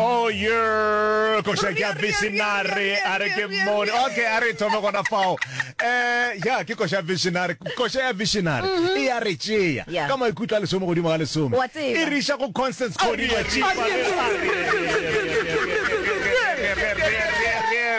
Oh yeah, koša ke ya visionary, a re ke mmone. Okay, a re thome gona fao. Eh, ya ke koša visionary, koša ya visionary e ya re tšea Yeah. ka maikutlo a lesome godimo ga lesome. Wa tseba. E re iša go Constance Kodia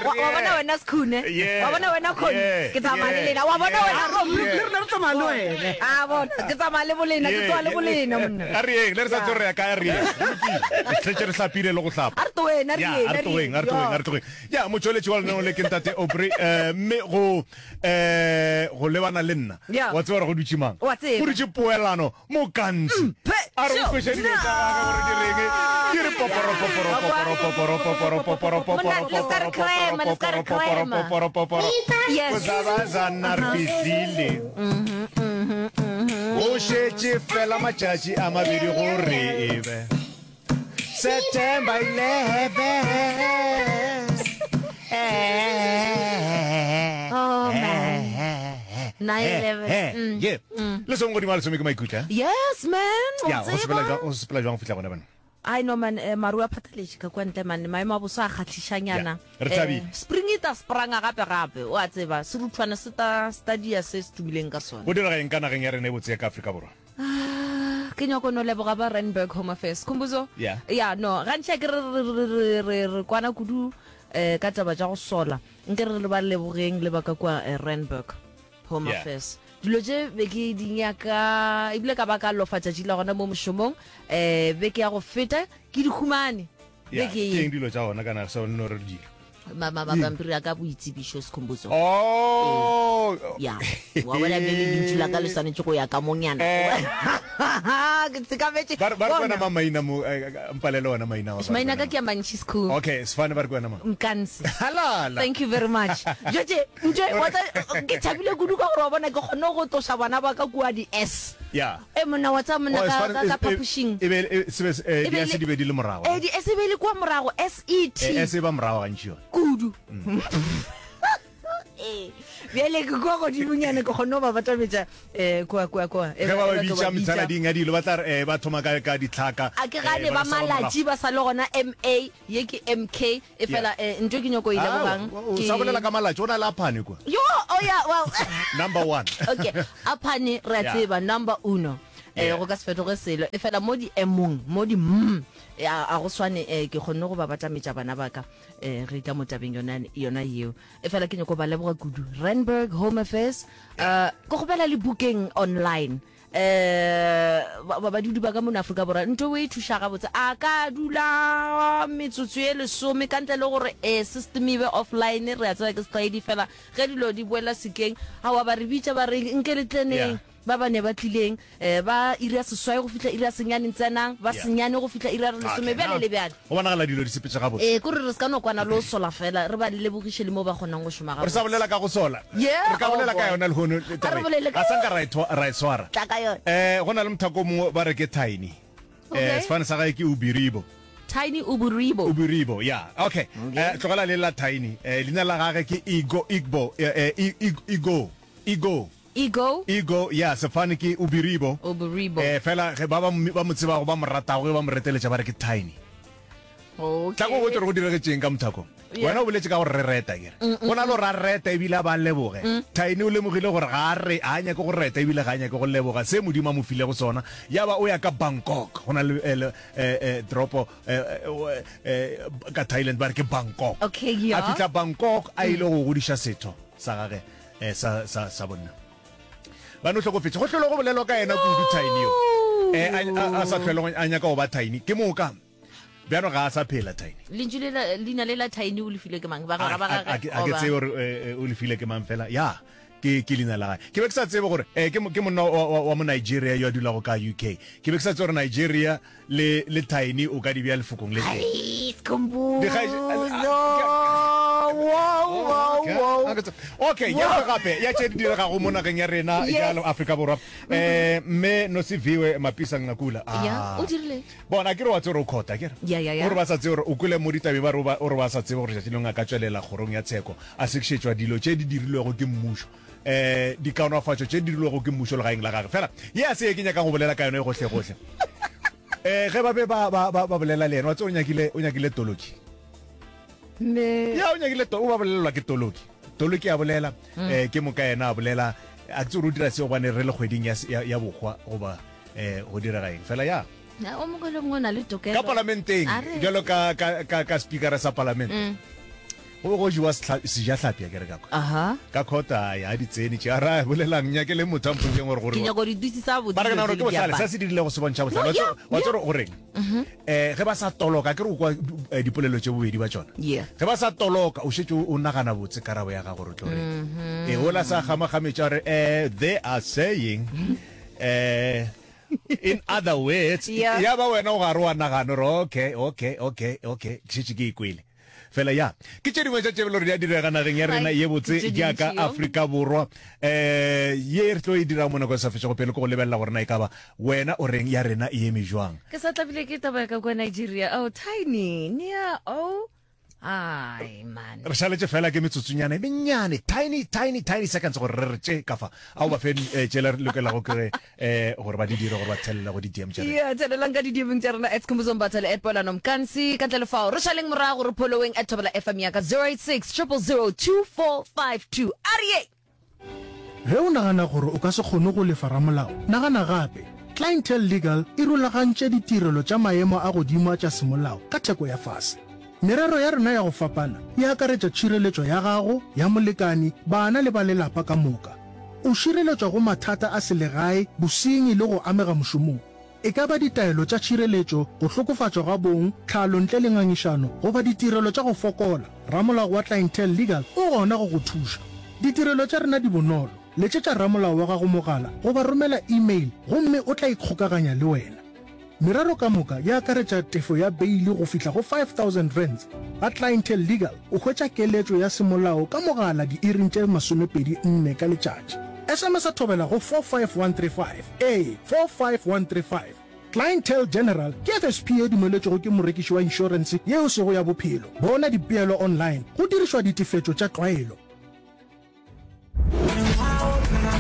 Wa wa bona wena Skhune? Yeah. Wa bona wena Khoni? Yeah. Ke tsamaya le Yeah. lena. Wa bona Yeah. wena Rob? Yeah. Le rena re tsamaya le wena. A bona, ke tsamaya le bolena, ke tloga le bolena monna. A re yeng, le re sa tlo re ya kae, a re yeng. Go lokile. Re šetše re hlapile le go hlapa. A re tloeng, a re Ya, yeng, a re a re tlogeng, yeng. a re tlogeng, a re tlogeng. Ya, motšweletši wa lenaneo le ke Ntate Aubrey, eh, mme go, eh, go lebana le nna. Ya. Wa tseba gore go dutše mang? Wa tseba. Go dutše Poelano Mokantsi. Mphe A re o kweše dilo tša gagwe gore di reng. Di re poporo, poporo, poporo, poporo, poporo, poporo, poporo, Monna, le ska re poporo, crema, le ska re poporo, poporo, crema. poporo, poporo. Yes. Go zabazana re fihlile. Go šetše fela matšatši a mabedi gore e be September 11. Oh, man. 9/11. Mm. Yeah. Le song godimo ga lesome ke maikutlo, eh? Yes, man. O Ya, go sepela tseba. jwang, go sepela jwang go fihla gona bana? Ai no man, eh, maru a phathaletše ka kwa ntle man, maemo a boso a kgahlišanyana. Yeah, re thabile. Eh, spring e ta spranga gape gape, o a tseba, seruthwana se ta stadia se se tumileng ka sona. Go direga eng ka nageng ya rena e botse ya ka Afrika Borwa? Ah, ke nyako no leboga ba Randburg Home Affairs. Khumbuzo? Yeah. Yeah, no, gantši a ke re re re re re re kwana kudu eh ka taba tša go sola. Nke re re ba lebogeng le ba ka kua eh, Randburg Home Yeah. Affairs. Dilo tše be ke di nyaka ebile ka ba ka lofa tšatši la gona mo mošomong eh beke ya go feta ke di humane. Yeah, Beke ke ye. eng dilo tša gona kana se no re dilo? Ma ma mapampiri a ka boitsebišo Sikhumbuzo. Oh. Ya. Wa bona bjale lentšu la ka le swanetše go ya ka monyana. Eh. Ke tsekametše. Ba re ba re Bona. kwena ma maina mo eh, eh, mpalele ona maina wa. Maina ka ke a mantši Sikhu. Okay, sefane ba re kwena ma. Mkansi. Halala. Thank you very much. Jotše, ntše wa tsa ke thabile kudu ka gore wa bona ke kgonne go tloša bana ba ka kua di S. Yeah. E monna wa tsa monna Oh, ka sefane- ka ka e- e- phapošing. E be e se be eh, E be di S le- di be di le morago. Eh di S e be le kua morago S E T. Eh, S e ba morago gantši yona. Kudu. Ee. Bjale ke kua godimonyana ke kgonne go ba batametša eh kua kua kua. Ge ba ba bitša methalading ya dilo ba tla re eh ba thoma ka ka ditlhaka. A ke eh, gane ba ba sala morago. malatši ba sa le gona M A ye ke M K E fela eh, ntho e ke nyoko e lebogang O ke sa bolela ka malatši o na le aphane kwa. Yo, oh yeah, well. Number one. Okay, aphane re a Yeah. tseba number uno. Eh Yeah. go ka se fetoge selo. E fela mo di emong, mo di mm a a go swane eh ke kgonne go ba batametša bana ba ka eh re tla mo tabeng yona yona yeo. E fela ke nyoko ba leboga kudu. Randburg Home Affairs eh ke kgopela le booking online. Eh, ba badudi ba ka mono Afrika Borwa ntho e thuša gabotse a ka dula metsotso ye lesome ka ntle le gore eh, system e be offline re a tseba ke setlwaedi fela ge dilo di boela sekeng aowa ba re bitša ba re nke le tleneng Yeah. ba ba ne ba tlileng eh, ba iri ya seswai go fihla iri ya senyane tsenang ba Yeah. senyane go fihla iri ya lesome Okay, bjale now, le bjale Go bonagala dilo di sepetše gabotse. Ee, kore re se ka no kwana le go sola fela, re ba lebogiše le mo ba kgonang go šoma Re sa gabotse. bolela ka go sola. Yeah, Re ka oh bolela ka boy. yona lehono A re taba ye. bolele ka Ga sa nka ra e thwa- ra e swara. Tla ka yona. Eh, go na le mothako o mongwe ba re ke Tiny. Eh, Okay. sefane sa gae ke Ubiribo. Tiny Uburibo. Ubiribo, yeah. Okay. Eh, tlogela le la Tiny. Eh, leina la gage ke Igo, Igbo, eh, eh, I- I- Igo, Igo. Ego. Ego, ya, sefane ke Ubiribo. Ubiribo. Eh, fela ge ba ba ba mo tsebago ba mo ratago ge ba mo reteletša ba re ke Tiny. Okay. Tla ko botse gore go diregetšeng ka mothako. Yeah. Wena o boletše ka gore re reta kere. Go na le gore a reta ebile a ba leboge. Tiny o lemogile gore ga a re ga a nyake go reta ebile ga a nyake go leboga se Modimo a mo filego sona. Ya ba o ya ka Bangkok. Go na le eh, le, eh, eh, toropo eh, eh, eh, ka Thailand ba re ke Bangkok. Okay, yeah. A fihla Bangkok a ile go godiša setho sa gage. eh, sa, sa, sa bonna ba no hlokofetše go hlolo go bolelwa ka yena kudu tiny yo eh, a, a, a sa hlwele go- a nyaka go ba tiny ke moka bjano ga a sa phela tiny Lentšu le la leina le la Tiny o le filwe ke mang? Bagwera ba a gagwe? ke a ke tsebe gore eh, eh, o le file ke mang fela ya ke ke leina la gage ke be ke sa tsebe gore eh, ke mo- ke monna wa, wa, wa mo Nigeria yo a dulago ka UK ke be ke sa tsebe gore Nigeria Le le Tiny o ka di bea lefokong le tee. Ai, Skhumbuzo. Dikgaetše- Wow, wow, wow. Okay, ya nngwe gape ya tše di diregago mo nageng ya rena Yes. ya Afrika Borwa. Eh mme Nosiviwe Mapisa Nqakula. Ah. Ya, o dirile. Bona ke re wa tsebe gore o khota ke re. Ya, ya, ya. O re ba sa tsebe gore o kwele mo ditabeng ba re o ba- o re ba sa tsebe gore tšatši lengwe a ka tšwelela kgorong ya tsheko a sekišetšwa dilo tše di dirilwego ke mmušo. eh dikaonafatšo tše di dirilwego ke mmušo legaeng la gage fela ye a se ye ke nyakang go bolela ka yone gohle gohle. Eh ge ba be ba ba ba bolela le yena wa tseba o nyakile o nyakile toloki. Ne. Ya o nyakile to o ba bolelelwa ke toloki. Toloki a bolela mm. eh ke moka yena a bolela a tse o dira seo gobane re le kgweding ya ya, ya bokgwa goba eh go direga eng fela ya. Ya o mongwe le mongwe o na le tokelo. Ka palamenteng jalo ka ka ka ka speaker sa palamente. Mm. Go be go jewa sejahlapi akere ka kwa. Aha. Ka khota ya di tsene tše. Ara bolelang nyake le motho a mpotšeng gore gore. Ke nyako di dutse sa botse. Ba re ke nagana gore ke bohlale sa se dirilego se bontšha bohlale. Wa tseba gore goreng? Eh ge ba sa toloka akere o kwa eh, dipolelo tše bobedi ba tšona. Yeah. Ge ba sa toloka o šetše o nagana botse karabo ya gago gore o tlo reng. Eh ola sa kgamakgametša gore eh they are saying eh in other words Yeah. ya ba wena o gare wa nagana gore okay okay okay okay ke šetše ke e kwele. Fela ya, ke tše dingwe tša tše bjalo di a direga nageng ya rena ye botse jaaka Afrika Borwa. Um ye re tlo e dirang mo nakong e sa fetšego pelo ke go lebelela gore na e ka ba wena o reng ya rena e eme jwang. Ke sa tlabile ke taba ya ka kua Nigeria. Oh, Tiny, Nia, oh. Ai, man. Re šaletše fela ke metsotsonyana e mennyane, tiny, tiny, tiny seconds gore re re tše ka fa. A o ba fe eh, tšela re lokelago ke eh gore ba di dire gore ba thelele go di-dm tša rena. Yeah, thelelang ka di-DM-eng tša rena at Skhumbuzo Mbatha le at Poelano Mkansi. Ka ntle le fao, re šaleng morago re following at Thobela FM ya ka 086 000 2452. Arie! Ge o nagana gore o ka se kgone go lefa ramolao, nagana gape. Clientele Legal e rulagantše ditirelo tša maemo a godimo a tša semolao ka theko ya fase. Merero ya rena ya go fapana e akaretša tšhireletšo ya gago, ya molekani, bana le ba lelapa ka moka. O šireletšwa go mathata a selegae, bosenyi le go amega mošomong. E ka ba ditaelo tša tšhireletšo, go hlokofatšwa ga bong, tlhalo ntle le ngangišano, goba ditirelo tša go fokola, ramolao wa Clientele Legal o gona go go thuša. Ditirelo tša rena di bonolo, letšetša ramolao wa gago mogala goba romela email gomme o tla ikgokaganya le wena. Merero ka moka e akaretša tefo ya beili go fihla go R5000. Ga Clientele Legal o hwetša keletšo ya semolao ka mogala diiring tše 24 ka letšatši. SMS-a thobela go 45135, ee, 45135. Clientele General ke FSP ye dumeletšwego ke morekiši wa inšorense ye e sego ya bophelo. Bona dipeelo online go dirišwa ditefetšo tša tlwaelo.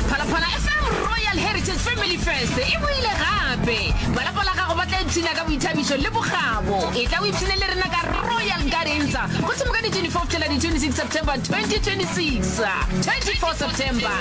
Phalaphala FM Royal Heritage Family Fest e boile gape. Ba lapa la gago ba tla ipshina ka boithabišo le bokgabo. Etla o ipshine le rena ka Royal Gardens go thoma ka di 24 go fihlela di 26 September 2026. 24 September.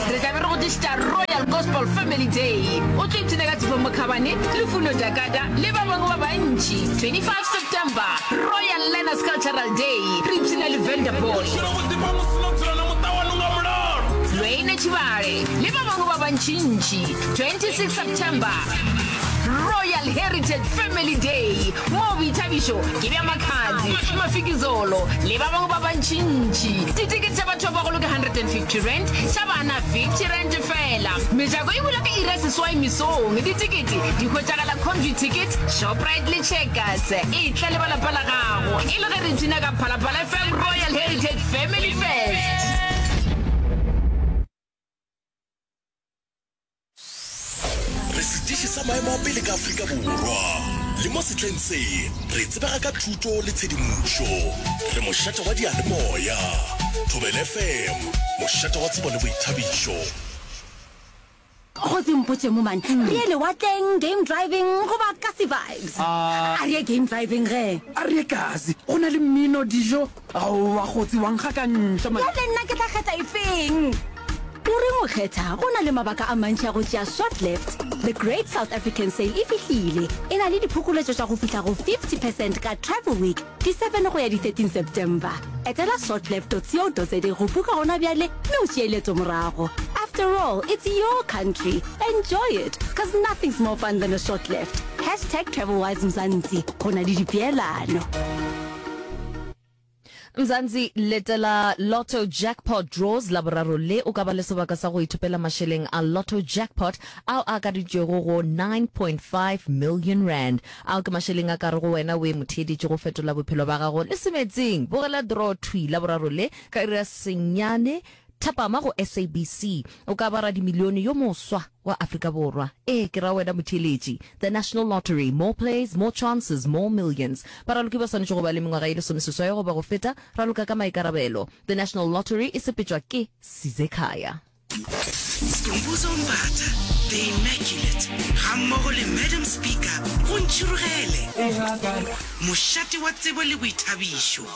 Re tla be re go tlišetša Royal Gospel Family Day. O tlo ipshina ka Tshepo Mokhabane, Lufuno Dakada le ba bangwe ba bantši. 25 September, Royal Learners Cultural Day, re ipshina le Vanderboy, Lwene Tshibale le ba bangwe ba bantšintši. 26 September, Royal Heritage Family Day, moo boithabišo ke bja Makhadzi, Mafikizolo le ba bangwe ba bantšintši. Ditekete tša batho ba bagolo ke R150, tša bana R50 feela. Mejako e bula ka iri ya seswai mesong. Ditekete di hwetšagala Computicket, Shoprite le Checkers. Etla le ba lapa la gago e le ge re ipshina ka Phalaphala FM Royal Heritage Family Fest. Re setiši sa maemo a pele ka Afrika Borwa. Le mo sehleng se, re tsebega ka thuto le tshedimošo. Re mošate wa diyalemoya. Thobela FM, mošate wa tsebo le boithabišo. Kgosi mpotše mo man, re ye lewatleng, game driving goba kasi vibes? A re ye game driving ge. A re ye kasi, go na le mmino, dijo. Aowa kgotsi wa nkgakantšha man. Bjale nna ke tla kgetha efeng? O reng o kgetha? Go na le mabaka a mantši a go tšea short left. The Great South African Sale e fihlile. E na le diphokoletšo tša go fihla go 50 percent ka Travel Week, di 7 go ya di 13 September. Etela shortleft.co.za go buka gona bjale mme o tšee leeto morago. After all, it's your country. Enjoy it, cause nothing's more fun than a short left. Hashtag TravelWise Mzansi. Go na le dipeelano. Mzansi, letela Lotto Jackpot Draws Laboraro le o ka ba le sebaka sa go ithopela mašeleng a Lotto Jackpot ao a akareditšwego go 9.5 million rand. Ao ke mašeleng a ka rego wena o e motheeditše go fetola bophelo ba gago le semetseng. Bogela draw thwi Laboraro le ka iri ya senyane thapama go SABC. O ka ba radimilione yo moswa wa Afrika Borwa. Ee, ke ra wena motheeletši. The National Lottery, more plays, more chances, more millions. Baraloki ba swanetše go ba le mengwaga ye lesomeseswai goba go feta. Raloka ka maikarabelo. The National Lottery e sepetšwa ke Sizekhaya. Skhumbuzo Mbatha, The Immaculate, gammogo le Madam Speaker go Ntšhirogele, mošate wa tsebo le boithabišo.